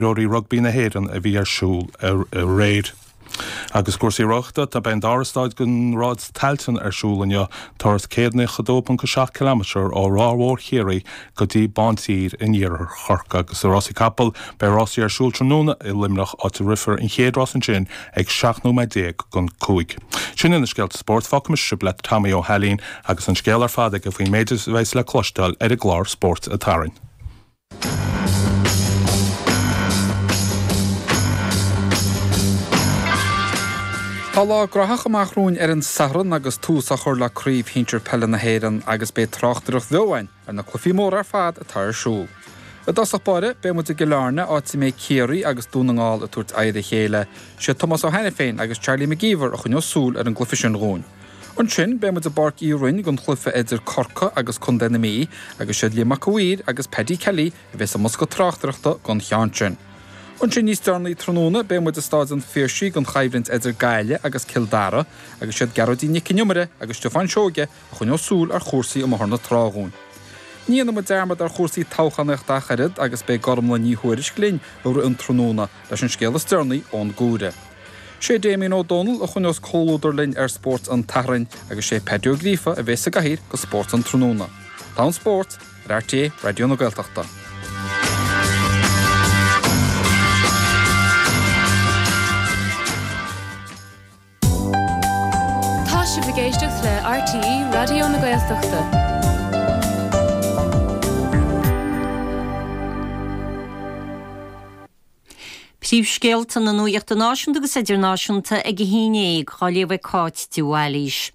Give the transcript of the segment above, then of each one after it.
Imreoirí Rugbaí na hÉireann a bhí ar siúl aréir. Agus cúrsaí rothaíochta, tá beidh an dara stáid den Ráid Tailteann ar siúl inniu, turas 192.7 ciliméadar ó Ráth Mhór Chiarraí go dtí Bántír in iarthar Chorcaí. Agus i rásaí capall, beidh rásaí ar siúl tráthnóna i Luimneach, áit a rithfear an chéad rás ansin ag 17 nóiméad don 5. Sin iad na scéalta spóirt, fágfaidh mise sibh le Tommy Ó hAilín agus an scéal ar fad aige faoin méid a bheas le cloisteáil ar an gclár Spórt an tSathairn. Tá lá graitheach amach romhainn ar an Satharn agus tús á chur le Craobh Shinsir Peile na hÉireann agus beidh tráchtaireacht bheo againn ar na cluichí móra ar fad atá ar siúl. I dtosach báire, beidh muid i gCill Airne, áit a mbeidh Ciarraí agus Dún na nGall ag tabhairt aghaidh ar a chéile. Sé Tomás Ó hAiniféin agus Charlie McGeever a choinneos súil ar an gcluiche sin dhúinn. Ansin, beidh muid i bPáirc Uí Rinn don chluiche idir Corcaigh agus Contae na Mí agus siad Liam Mac a' Mhaoir agus Paddy Kelly a bheas i mbosca tráchtaireachta don cheann sin. Ansin níos deireanaí tráthnóna beidh muid i Stáid an Phiarsaigh don choimhlint idir Gaillimh agus Cill Dara agus siad Gearóidín Nic an Iomaire agus Stiofán Seoige a choinneos súil ar chúrsaí i mBóthar na Trá dhúinn. Ní dhéanfaidh muid dearmad ar chúrsaí toghchánaíochta ach oiread agus beidh Gormlaith Ní Thuairisg linn i rith an tráthnóna leis an scéal is deireanaí ón gComhairle. Sé Damien Ó Dónaill a choinneos comhluadar linn ar Spórt an tSathairn agus sé Paddy Ó Gríofa a bheas sa gcathaoir do Spórt an Tráthnóna. Tá an spórt ar RTÉ Raidió na Gaeltachta. Tá sibh ag éisteacht le RTÉ Raidió na Gaeltachta. Príomhscéalta na nuachta náisiúnta agus idirnáisiúnta ag a 11, á léamh ag Cáit de Bhailís.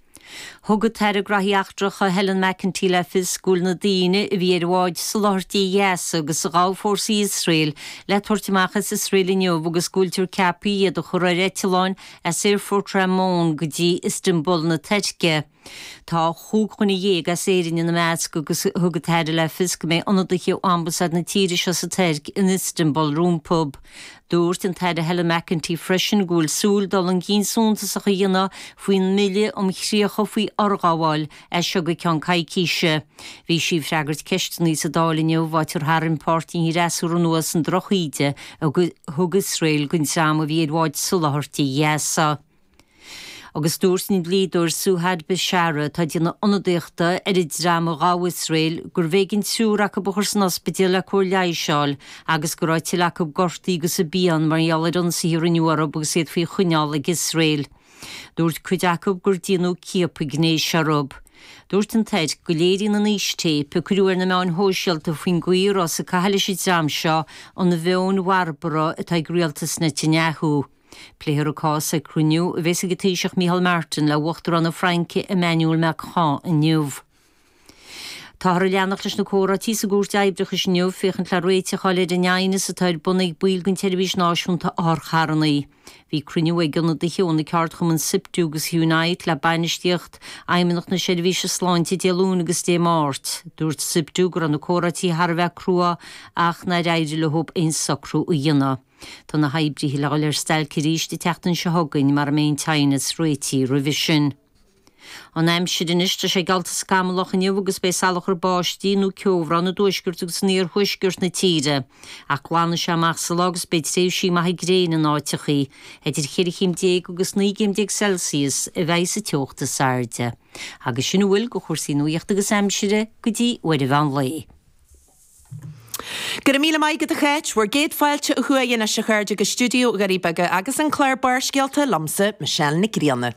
Thug an tAire Graithí Eachtracha Helen McEntee le fios go bhfuil na daoine a bhí ar bhád soláthairtí Ghaza agus a ghabh fórsaí Iosrael le tabhairt amach as Iosrael inniu agus go bhfuiltear ceaptha iad a chur ar eitleáin as Aerfort Ramon go dtí Istanbul na Tuirce. Tá chúig dhuine dhéag as Éirinn ina measc agus thug an tAire le fios go mbeidh ionadaithe ó Ambasáid na tíre seo sa Tuirc in Istanbul rompu. Dúirt an tAire Helen McEntee freisin go bhfuil súil dul chun cinn suntasach a dhéanamh faoin mBille um Chríocha faoi Fhorghabháil as seo go ceann coicíse. Bhí sí ag freagairt ceisteanna sa Dáil inniu, áit ar tharraing páirtí an fhreasúra anuas an drochíde a thug Iosrael don dream a bhí ar bháid soláthairtí Ghaza. Agus dúirt an dlíodóir Suhad Bishara, atá ag déanamh ionadaíochta ar an dream a ghabh Iosrael, gurbh éigean triúr acu a chur san ospidéal le cóir leighis a fháil agus go raibh tuilleadh acu gortaithe agus i bpian mar gheall ar ionsaithe a rinneadh orthu agus iad faoi choinneáil ag Iosrael. Dúirt cuid acu gur déanadh ciapadh gnéis orthu. Dúirt an Tuirc go léiríonn an fhístéip a cuireadh ar na meáin shóisialta faoin gcaoi a rabhthas ag caitheamh leis an dream seo an mheon bharbarach atá ag rialtas Netanyahu. Pléifear an cás ag cruinniú a bheas ag an Taoiseach Micheál Martin le Uachtarán na Fraince Emmanuel Macron inniu. Táthar ag leanacht leis na comhráití sa gCúirt Oibreachais inniu féachaint le réiteach a fháil ar an aighneas atá ar bun ag baill den tSeirbhís Náisiúnta Otharcharranna. Bhí cruinniú ag ionadaithe ó na ceardchumainn Siptu agus Unite le bainistíocht Fheidhmeannacht na Seirbhíse Sláinte Dé Luain agus Dé Máirt. Dúirt Siptu go raibh na comhráití thar a bheith crua ach nár éirigh leo aon socrú a dhéanamh. Tá na hoibrithe le dhul ar stailc arís an tseachtain seo chugainn mara mbeidh an t-aighneas réitithe roimhe sin. An aimsir anois, tá sé geallta scamallach inniu agus beidh salachar báistí nó ceobhrán i dtuaisceart agus in iarthuaisceart na tíre. Ach glanfaidh sé amach sa lá agus beidh tréimhsí maithe gréine in áiteachaí. Idir cheithre chéim déag agus 19 gcéim Celsius a bheidh sa teocht is airde. Agus sin a bhfuil de chúrsaí nuachta agus aimsire go dtí uair an mheán lae. Go raibh míle maith agat a Cháit. Bhur gcéad fáilte ó thuaidh anois a chairde go stiúideo Dhoirí Beaga agus an clár Barrscéalta liomsa, Michelle Nic Grianna.